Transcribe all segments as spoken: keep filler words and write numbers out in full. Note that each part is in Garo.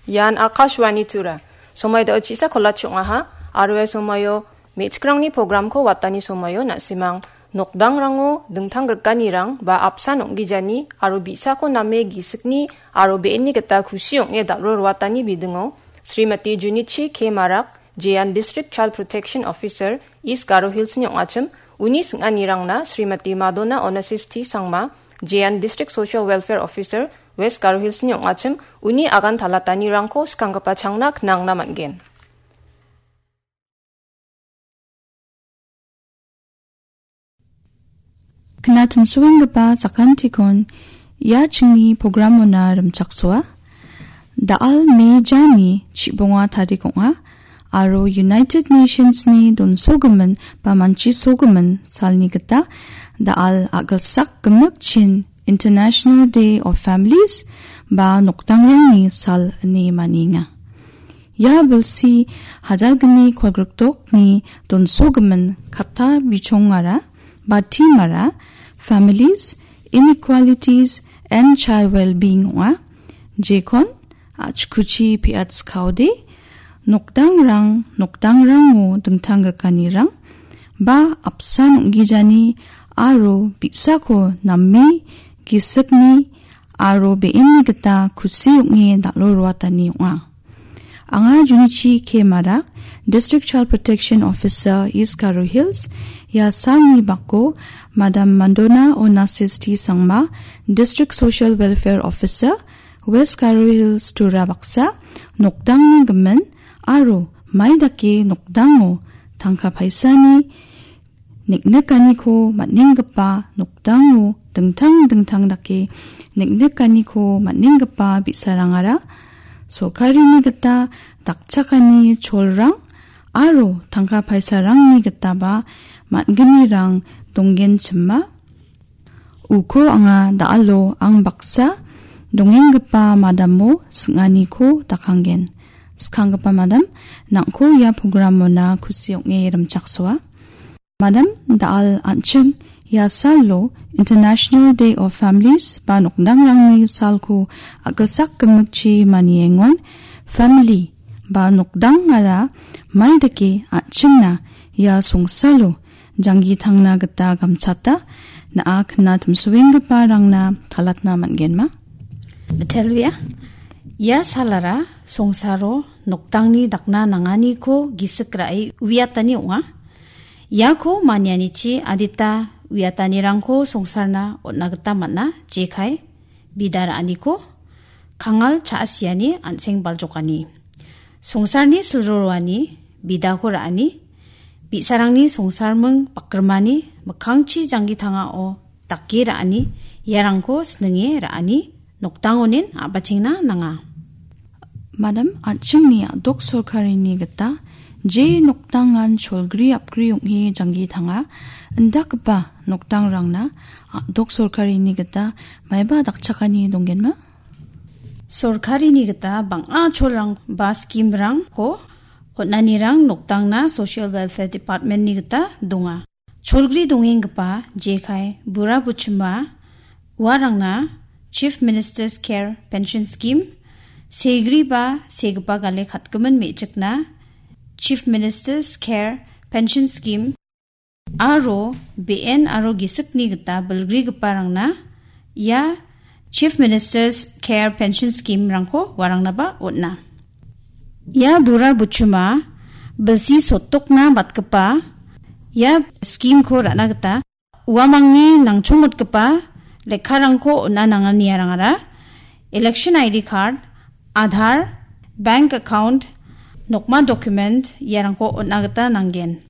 Ian Akashvani Tura. Somai dao chisa kolachi ong·aha, aro ia somaio me·chikrangni programko watani somaio na·simang nokdangrango dingtang grikanirang ba apsan ong·gijani aro bi·sako name gisikni aro be·enni gita kusi ong·e dal·ro roatani bidingo Srimati Junichi K Marak, Jeyan District Child Protection Officer, East Garo Hillsni ong·achim, uni sing·anirangna Srimati Madonna Onassis T Sangma, Jeyan District Social Welfare Officer, West Garo Hillsni ong·achim, uni agan talatanirangko skanggipa changna knangna man·gen. Knatimsoenggipa sakantikon ia chingni programona rimchaksoa. Da·al Mejani chibonga tarik ong·a, aro United Nationsni donsogimin ba manchisogimin salni gita da·al a·gilsak gimikchin International Day of Families ba nokdangrangni sal ine manienga. Ia bilsi hajalgni kolgriktokni donsogimin katta bichongara ba themara Families, Inequalities and Child Wellbeing ong·a. Jekon a·chikuchi pe·atskaode, nokdangrang, nokdangrango dingtang grikanirang ba apsan ong·gijani aro bi·sako name gisikni aro be·enni gita kusi ong·e dal·o roatani ong·a. Anga Junichi K Marak, District Child Protection Officer, East Garo Hills, ia salni bako Madam Mandona Onassis T Sangma, District Social Welfare Officer, West Garo Hills Tura baksa, nokdangni gimin aro mai dake nokdango tangka paisani neng·nikaniko man·enggipa nokdango dingtang dingtang dake neng·nikaniko man·enggipa bi·sarangara sorkarini gita dakchakani cholrang aro tangka paisarangni gitaba man·gnirang donggenchima. Uko anga da·alo ang baksa dongenggipa madamo sing·aniko dakanggen. Skanggipa madam, nang·ko ia programona kusi ong·e rimchaksoa. Madam, da·al an·ching ia salo International Day of Families ba nokdangrangni salko a·gilsak gimikchi maniengon family ba nokdangara mai dake an·chingna ia songsalo janggi tangna gita gamchata na·a knatimsoenggiparangna talatna man·genma? Betelbia, ia salara songsaro nokdangni dakna nanganiko gisik ra·e uiatani ong·a. Iako manianichi adita uiatanirangko songsarna on·na gita man·a, jekai bida ra·aniko, kangal cha·asiani an·seng baljokani, songsarni silroroani bidako ra·ani, bi·sarangni songsarming bakgrimani mikkangchi janggi tangao dake ra·ani, iarangko sninge ra·ani nokdangonin a·bachengna nanga. Madam, an·chingni a·dok sorkarini gita je nokdangan cholgri apgri ong·e janggi tanga, indakgipa nokdangrangna a·dok sorkarini gita maiba dakchakani donggenma? Sorkarini gita bang·a cholrang ba scheme-rangko on·anirang nokdangna Social Welfare Department-ni gita donga. Cholgri dongenggipa jekai bura buchima uarangna Chief Minister's Care Pension Scheme, segri ba segipa gale katgimin me·chikna Chief Minister's Care Pension Scheme aro be·en aro gisikni gita bilgrigiparangna ia Chief Minister's Care Pension Scheme-rangko warangnaba on·a. Ia bura buchima bilsi sotokna batgipa ia scheme-ko ra·na gita uamangni nangchongmotgipa lekkarangko on·a nangani iarangara election I D card, Aadhaar, bank account, nokma document iarangko on·a gita nanggen.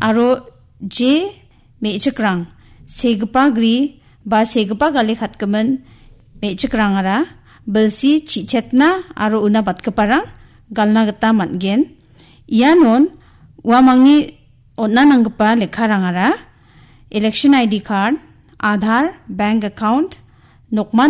Aro je me·chikrang, segipa gri ba segipa gale katgimin me·chikrangara bilsi chi·chetna aro una batgiparang galna gita man·gen. Ianon uamangni on·a nanggipa lekkarangara election I D card, Aadhaar, bank account, nokma